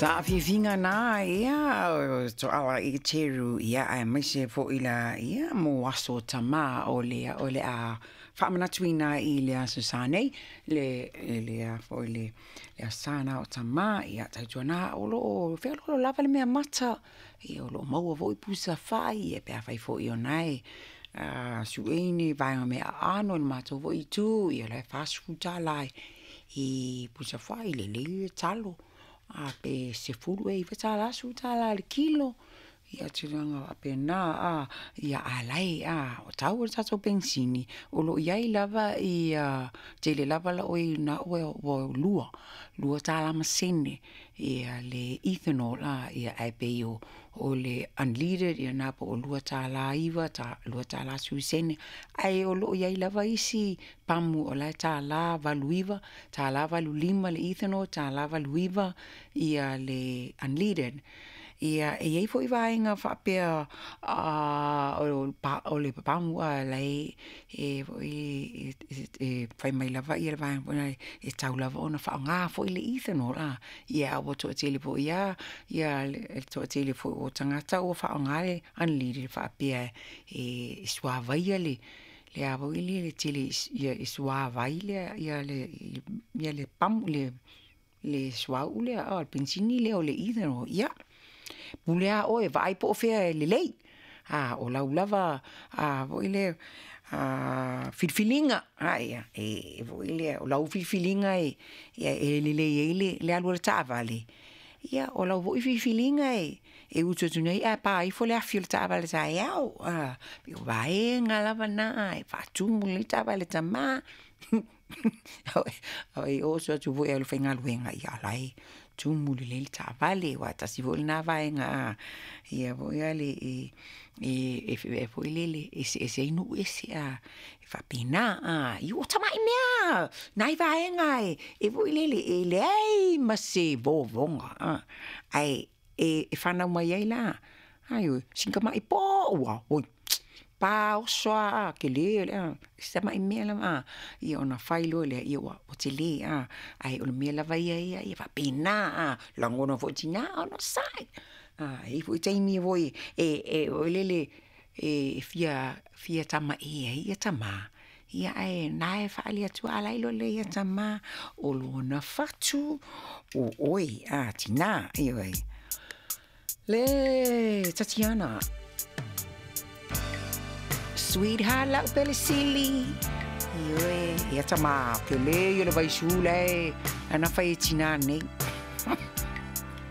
Saafiafiga na ia o Toala Eteru ia aemaise foʻi la ia mo aso tamā o le o le a faamanatuina i le aso sa nei le le a foi le le aso sa na o tamā ia tautuana o loo feoloolo lava le meamata ia o loo maua foi pusa fai pe afai foi o na e sue ni vaega mea aano i le matou foi itu ia la e $40 i pusa fai, lelei le talo, pe 10 ea $9 $10 i le kilo, ia tulaga faapena a. Ia ae o la e o tau o le tatou penisini, o lo o i ai lava ia tele lava na ua $2 ma sene le ethanol ae pei o le unleaded ia lena po o le $2.9, $2.10. Ae o lo o i ai lava isi pamu o la e $1.89, $1.85 le ethanol, $1.89 le unleaded. Ia, e i ai foi vaega faapea o le pamu a la e fai mai lava le vaega foi lea e tatau lava ona faaaoga foi le ethanol a, ia ae ua toatele foi lava le toatele foi o tagata ua faaaoga le unleaded e faapea e suavaia le a foi lele tele e suavai le pamu le suauu lea le penisini lea o le ethanol. Ia, pule lava oe vaai po o fea e lelei, o lau lava foi lea filifiliga, foi lea o lau filifiliga e lelei ai le alu a le taavale, ia o lau foi filifiliga e utu atu nei ae pa ifo le afi o le taavale taeao. E pei o vaega lava na e faatumu lelei le taavale a tama. E oso atu foi e alu e faigaluega, ia o la e tumu lelei le taavale, aua e tasi foi lena vaega ia foi lale foi lele e eseese ai nuu ese e faapena. Ia o tamai mea lava nai vaega e foi lele e leai ma se vovoga ae e fanau mai ai la, ioe, sina tamai po'u lava, oi paoso lava a, tele si tamai mea lava a, ia ona fai loa lea ua tele, ae o le mea lava ia e faapena a, lagona foi e tina, onosai, e i ai foi taimi foi e foi lele e fia tamae ai tama, ae o lena e faaali atu lava, a o la e iloa lelei e tama, o lona fatu o oe tina, ioe. Le Tatiana. Sweetheart lau pele sili. Ioe, ia tama, tele ia le vaisu la e ana fai e tina nei.